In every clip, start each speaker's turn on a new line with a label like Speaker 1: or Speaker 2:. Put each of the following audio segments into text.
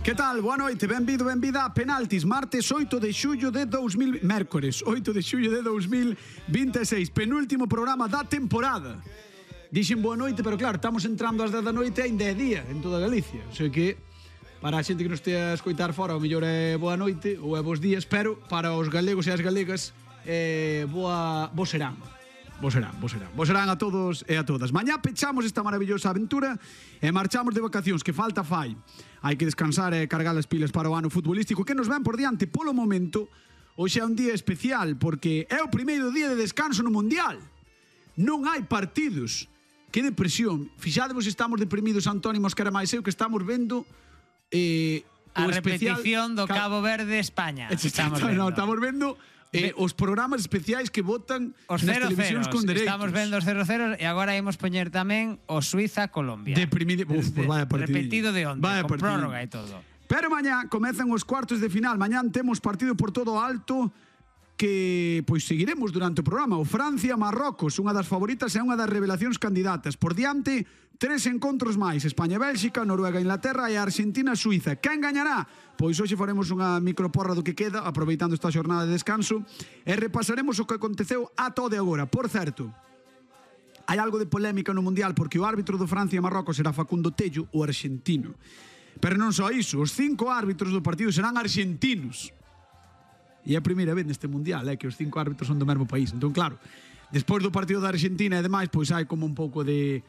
Speaker 1: Que tal? Boa noite, benvido, benvida a Penaltis, martes 8 de xullo de 2000... Mércores, 8 de xullo de 2026, penúltimo programa da temporada. Dixen boa noite, pero claro, estamos entrando ás 10 da noite e ainda é día en toda Galicia. O sea que, para a xente que nos estea a escoitar fora, o mellor é boa noite ou é bons días, pero para os galegos e as galegas, bo serán. Vos serán a todos e a todas. Mañá pechamos esta maravillosa aventura e marchamos de vacacións, que falta fai. Hai que descansar e cargar as pilas para o ano futbolístico que nos ven por diante. Polo momento, hoxe é un día especial porque é o primeiro día de descanso no Mundial. Non hai partidos. Que depresión. Fixadevos, estamos deprimidos, Antonio Mosquera máis eu, que estamos vendo
Speaker 2: a repetición do Cabo Verde-España.
Speaker 1: Estamos vendo os programas especiais que votan
Speaker 2: os
Speaker 1: nas televisións con dereitos.
Speaker 2: Estamos vendo os 0-0 e agora imos poñer tamén o Suiza-Colombia.
Speaker 1: Deprimido. Pues vaya partidillo.
Speaker 2: Repetido de onde,
Speaker 1: vaya
Speaker 2: con
Speaker 1: partidillo.
Speaker 2: prórroga e todo.
Speaker 1: Pero mañá comezan os cuartos de final. Mañán temos partido por todo alto que pois seguiremos durante o programa. O Francia-Marrocos, unha das favoritas e unha das revelacións candidatas. Por diante, 3 encontros máis: España-Bélxica, Noruega-Inglaterra e Argentina-Suiza. Quen gañará? Pois hoxe faremos unha microporra do que queda, aproveitando esta xornada de descanso, e repasaremos o que aconteceu ata o de agora. Por certo, hai algo de polémica no Mundial porque o árbitro do Francia-Marrocos será Facundo Tello, o argentino. Pero non só iso, os 5 árbitros do partido serán argentinos. E é a primeira vez neste Mundial que os 5 árbitros son do mesmo país. Entón, claro, despois do partido da Argentina e demais, pois hai como un pouco de...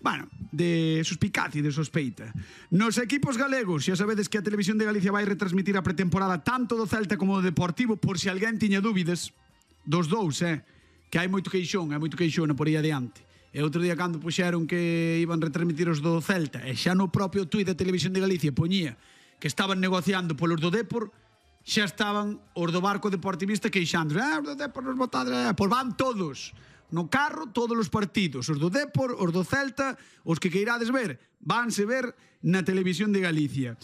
Speaker 1: Bueno, de suspicacia e de sospeita. Nos equipos galegos, xa sabedes que a Televisión de Galicia vai retransmitir a pretemporada tanto do Celta como do Deportivo, por se alguén tiña dúbidas dos dous, que hai moito queixón por aí adiante. E outro día cando puxeron que iban retransmitir os do Celta, e xa no propio tuit da Televisión de Galicia poñía que estaban negociando polos do Depor, xa estaban os do barco deportivista queixando, os do Depor nos botados, pois van todos no carro, todos os partidos, os do Depor, os do Celta, os que queirades ver, vanse ver na Televisión de Galicia.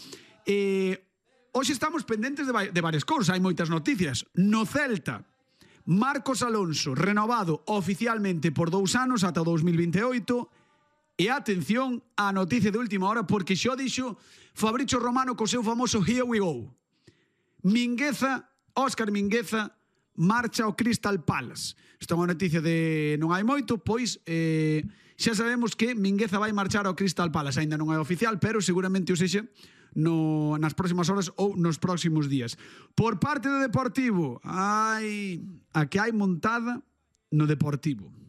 Speaker 1: Hoxe estamos pendentes de varias cousas, hai moitas noticias. No Celta, Marcos Alonso renovado oficialmente por 2 anos ata 2028. E atención á noticia de última hora, porque xo dixo Fabrizio Romano co seu famoso Here We Go. Óscar Mingueza marcha ao Crystal Palace. Esta é unha noticia de non hai moito, pois xa sabemos que Mingueza vai marchar ao Crystal Palace. Ainda non é oficial, pero seguramente o sexa nas próximas horas ou nos próximos días. Por parte do Deportivo, a que hai montada no Deportivo.